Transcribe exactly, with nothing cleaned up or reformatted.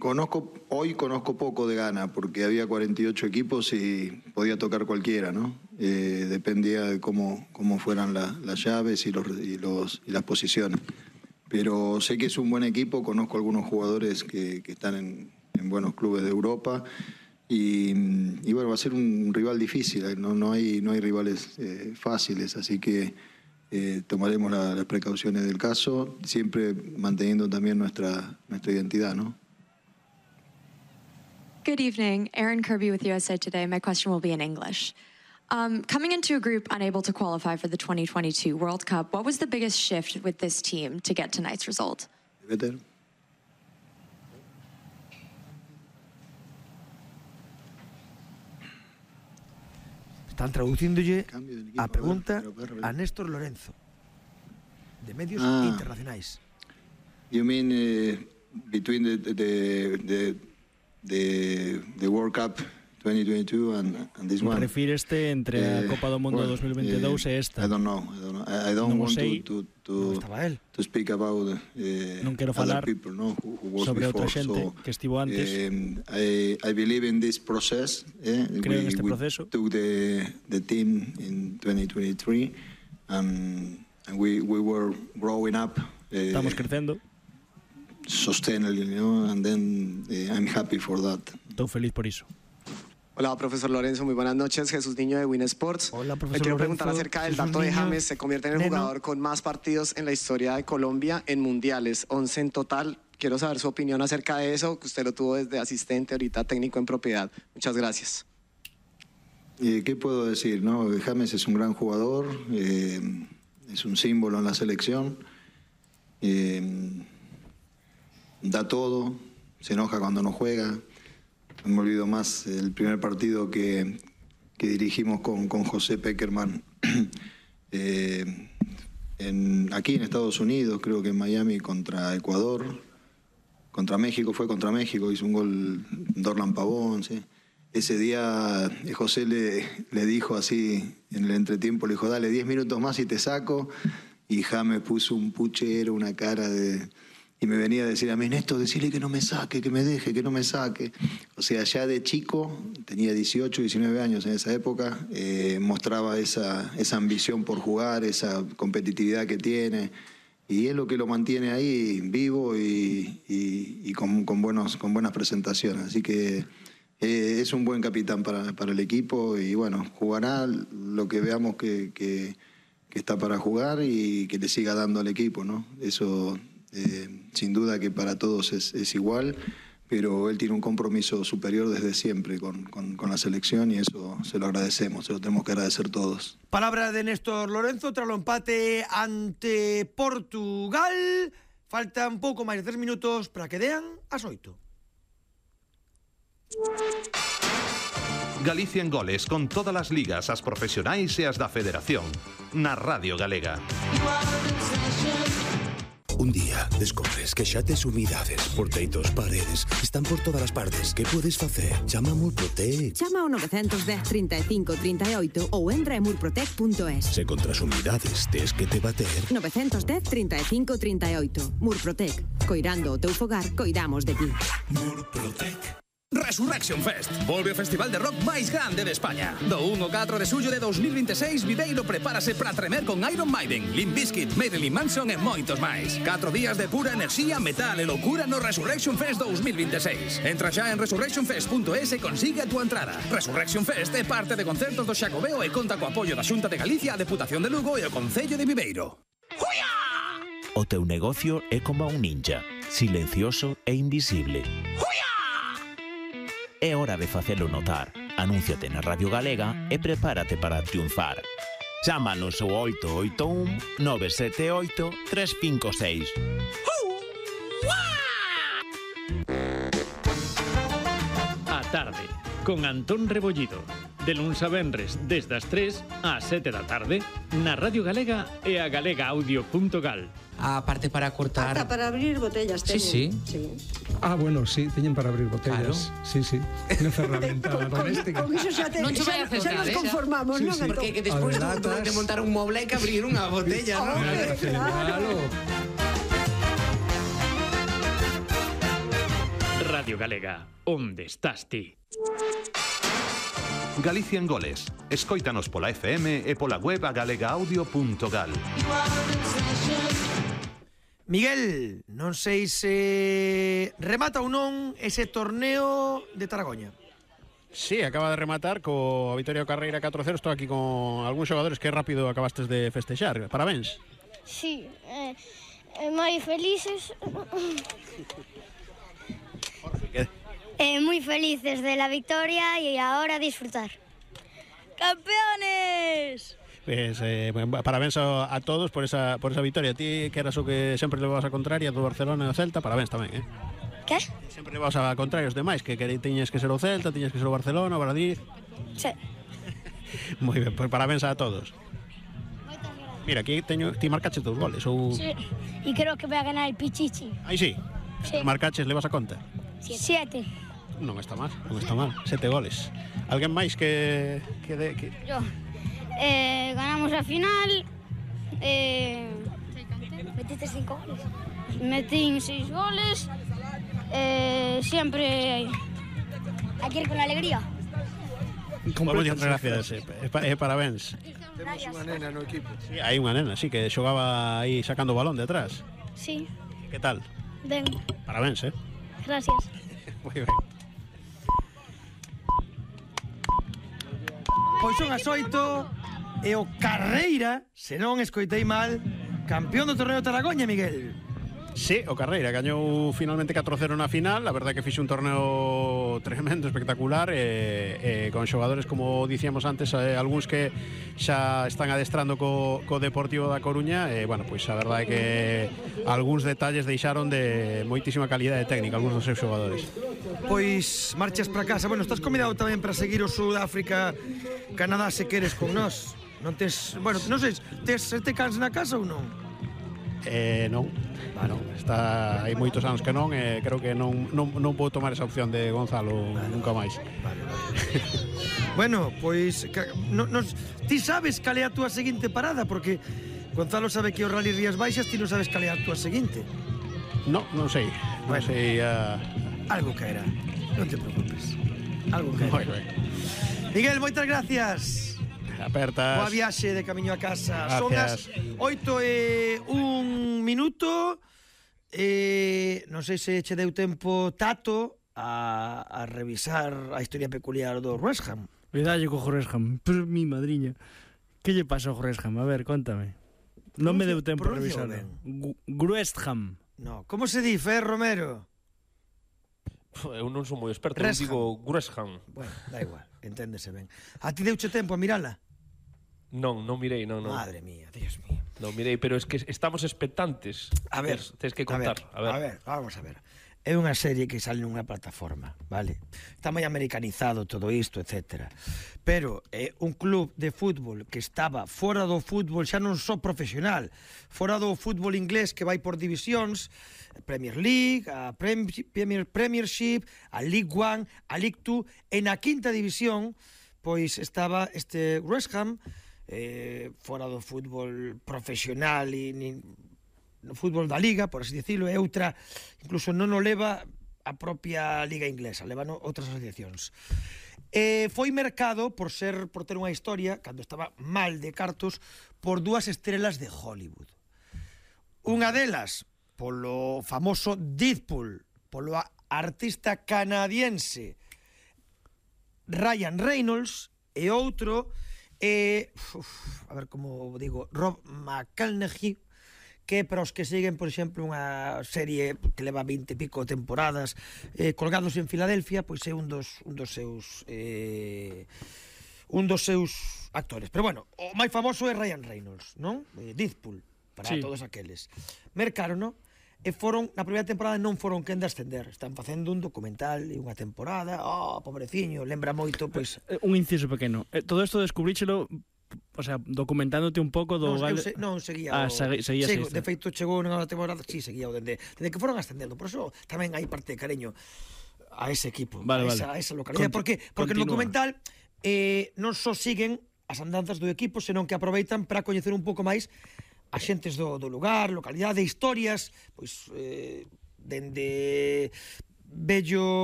conozco, hoy conozco poco de Ghana, porque había cuarenta y ocho equipos y podía tocar cualquiera, ¿no? Eh, dependía de cómo, cómo fueran la, las llaves y, los, y, los, y las posiciones. Pero sé que es un buen equipo, conozco algunos jugadores que, que están en, en buenos clubes de Europa y, y bueno, va a ser un rival difícil, no, no, hay, no hay rivales eh, fáciles, así que eh, tomaremos la, las precauciones del caso, siempre manteniendo también nuestra, nuestra identidad, ¿no? Good evening, Erin Kirby with U S A Today. My question will be in English. Um, coming into a group unable to qualify for the twenty twenty-two World Cup, what was the biggest shift with this team to get tonight's result? Better. Están traducíndolle a pregunta a Néstor Lorenzo, de medios ah, internacionais. You mean uh, between the the the the the World Cup twenty twenty-two and, and this one? Refíreste entre a Copa do Mundo well, dos mil veintidós uh, e esta? I don't know. I don't, know. I, I don't non want sei, to to to, to speak about uh, non quero falar people, no, who, who sobre before. outra xente so, que estivo antes. Um, I, I believe in this process. Eh? Creo we, en este we proceso. Took the the team in twenty twenty-three and, and we we were growing up. Uh, Estamos crecendo. Sustainably, you know, and then uh, I'm happy for that. Estou feliz por iso. Hola, profesor Lorenzo, muy buenas noches. Jesús Niño de Win Sports. Hola, profesor Me quiero Lorenzo. preguntar acerca del Jesús dato de Niño. James. Se convierte en el Neno. jugador con más partidos en la historia de Colombia en mundiales, once en total. Quiero saber su opinión acerca de eso, que usted lo tuvo desde asistente, ahorita técnico en propiedad. Muchas gracias. Eh, ¿Qué puedo decir? No? James es un gran jugador, eh, es un símbolo en la selección, eh, da todo, se enoja cuando no juega. No me olvido más el primer partido que, que dirigimos con, con José Peckerman eh, en, aquí en Estados Unidos, creo que en Miami contra Ecuador, contra México, fue contra México, hizo un gol Dorlan Pavón, ¿sí? Ese día eh, José le, le dijo así en el entretiempo, le dijo, dale diez minutos más y te saco, y James puso un puchero, una cara de... Y me venía a decir a mí, Néstor, decirle que no me saque, que me deje, que no me saque. O sea, ya de chico, tenía dieciocho, diecinueve años en esa época, eh, mostraba esa, esa ambición por jugar, esa competitividad que tiene. Y es lo que lo mantiene ahí vivo y, y, y con, con, buenos, con buenas presentaciones. Así que eh, es un buen capitán para, para el equipo y bueno, jugará lo que veamos que, que, que está para jugar y que le siga dando al equipo, ¿no? Eso... Eh, sin duda que para todos es, es igual, pero él tiene un compromiso superior desde siempre con, con, con la selección y eso se lo agradecemos, se lo tenemos que agradecer todos. Palabra de Néstor Lorenzo tras o empate ante Portugal. Faltan pouco máis de tres minutos para que dean as oito. Galicia en goles con todas as ligas, as profesionais e as da Federación. Na Radio Galega. Un día descobres que xa tes umidades por teitos, paredes, están por todas as partes. Que podes facer? Chama a Murprotec. Chama ao nove un cero, trinta e cinco, trinta e oito ou entra en murprotec punto es. Se contra as umidades tes que te bater. nove un cero, trinta e cinco, trinta e oito. Murprotec. Coirando o teu fogar, coidamos de ti. Murprotec. Resurrection Fest. Volve o festival de rock máis grande de España. Do un ao catro de xullo de dos mil veintiséis, Viveiro prepárase para tremer con Iron Maiden, Limp Bizkit, Marilyn Manson e moitos máis. Catro días de pura enerxía, metal e locura no Resurrection Fest dos mil veintiséis. Entra xa en resurrection fest punto es e consigue a túa entrada. Resurrection Fest é parte de concertos do Xacobeo e conta co apoio da Xunta de Galicia, a Deputación de Lugo e o Concello de Viveiro. O teu negocio é como un ninja, silencioso e invisible. É hora de facelo notar. Anúnciate na Radio Galega e prepárate para triunfar. Chámanos ao oito oito un, nove sete oito, tres cinco seis. A tarde, con Antón Rebollido. De luns a venres, desde as tres ás sete da tarde, na Radio Galega e a galega audio punto gal. A parte para cortar... Ata para abrir botellas Sí, sí. sí. Ah, bueno, sí, teñen para abrir botellas. Claro. Sí, sí. Unha ferramenta doméstica. Con iso xa, te, Non che vai a xa, xa acercar, nos eh? conformamos, Sí, non? sí. Antón? Porque que despois A ver, de, latas. de montar un moble hai que abrir unha botella, non? Hombre, claro. Claro. Radio Galega, onde estás ti? Galicia en goles. Escóitanos pola F M e pola web a galega audio punto gal. Miguel, non sei se remata ou non ese torneo de Taragoña. Sí, acaba de rematar co Vitoria Carreira catro cero. Estou aquí con algúns xogadores que rápido acabastes de festexar. Parabéns. Sí, eh, eh, moi felices. Eh, muy felices de la victoria y ahora disfrutar. ¡Campeones! Pues, eh, parabéns a, a todos por esa, por esa victoria. Ti que eras o que sempre levabas a contraria do Barcelona e o Celta, parabéns tamén, eh? Que? Sempre levabas a contraria os demais, que, que tiñes que ser o Celta, tiñes que ser o Barcelona, o Valladolid. Sí. Moi ben, pues parabéns a todos. Mira, aquí teño, ti marcaches dous goles ou... Sí, y creo que voy a ganar el Pichichi. Aí sí, Sí. marcaches, levas a conta. Siete. Non está mal, non está mal, sete goles. Alguén máis que... que, de, que... Yo. Eh, ganamos a final. Eh, Metiste cinco goles. Metí seis goles. Eh, siempre hay que ir con alegría. Moitas gracias, e eh, eh, parabéns. Temos unha nena no equipo. Sí, hai unha nena, sí, que xogaba aí sacando o balón detrás. Sí, Que tal? ven. Parabéns, eh? Gracias. Moi ben. Pois son as oito e o Carreira, se non escoitei mal, campeón do torneo de Taragoña, Miguel. Sí, o Carreira gañou finalmente catro cero na final. A verdade que fixe un torneo tremendo, espectacular, e, e con xogadores, como dicíamos antes, eh, algúns que xa están adestrando co, co Deportivo da Coruña, e, bueno, pois a verdade que algúns detalles deixaron de moitísima calidade técnica, algúns dos seus xogadores. Pois marchas para casa. Bueno, estás convidado tamén para seguir o Sudáfrica, Canadá, se queres con nós. Non tes, bueno, non sei, tes te cans na casa ou non? Eh, non. Bueno, está hai moitos anos que non, e creo que non, non, non vou tomar esa opción de Gonzalo nunca máis. Vale, vale. Bueno, pois no, nos, ti sabes cal é a túa seguinte parada, porque Gonzalo sabe que o Rally Rías Baixas, ti non sabes cal é a túa seguinte. No, non sei. Non Bueno. sei. Uh... Algo caerá. Non te preocupes. Algo caerá. Moi ben. Miguel, moitas gracias. Apertas. Boa viaxe de camiño a casa. Gracias. Son as oito e un minuto. Eh, non sei se che deu tempo, Tato, a, a revisar a historia peculiar do West Ham. Cuidado co West Ham. Pero mi madriña. Que lle pasa ao West Ham? A ver, contame. Non me deu tempo a revisar. West Ham. No, como se di, Fer Romero? Eu non son moi experto, eu West digo Gresham. Bueno, da igual, enténdese ben. A ti deuche tempo a mirala? Non, non mirei, non, non. Madre mía, Dios mío. Non mirei, pero es que estamos expectantes. A ver, Tes, tes que contar. A ver, a ver, vamos a ver. É unha serie que sale nunha plataforma, vale? Está moi americanizado todo isto, etcétera. Pero é un club de fútbol que estaba fora do fútbol, xa non só profesional, fora do fútbol inglés que vai por divisións, Premier League, a Premier, Premiership, a League One, a League Two, e na quinta división, pois estaba este West Ham, eh, fora do fútbol profesional e nin, no fútbol da Liga, por así dicilo, e outra, incluso non o leva a propia Liga Inglesa, levan outras asociacións. Eh, foi mercado por ser por ter unha historia, cando estaba mal de cartos, por dúas estrelas de Hollywood. Unha delas, polo famoso Deadpool, polo artista canadiense Ryan Reynolds, e outro, eh, uf, a ver como digo, Rob McElhenney, que para os que siguen, por exemplo, unha serie que leva vinte e pico temporadas, eh, Colgados en Filadelfia, pois é un dos, un dos seus eh, un dos seus actores. Pero bueno, o máis famoso é Ryan Reynolds, non? Eh, Deadpool, para Sí. todos aqueles. Mercaron, non? E foron, na primeira temporada non foron quen de ascender. Están facendo un documental e unha temporada. Oh, pobreciño, lembra moito, pois... Eh, Un inciso pequeno. Eh, todo isto descubríchelo, o sea, documentándote un pouco do... Non, eu gal- se, non seguía Ah, o... segui- seguías Sigo, isto. de feito, chegou nunha temporada, sí, seguía o dende, dende que foron ascendendo. Por eso tamén hai parte de cariño a ese equipo, Vale, a, esa, vale. a esa localidade. Conti- Porque, porque no continúa. documental eh, non só siguen as andanzas do equipo, senón que aproveitan para coñecer un pouco máis a xentes do, do lugar, localidade, historias, pois, eh, dende vello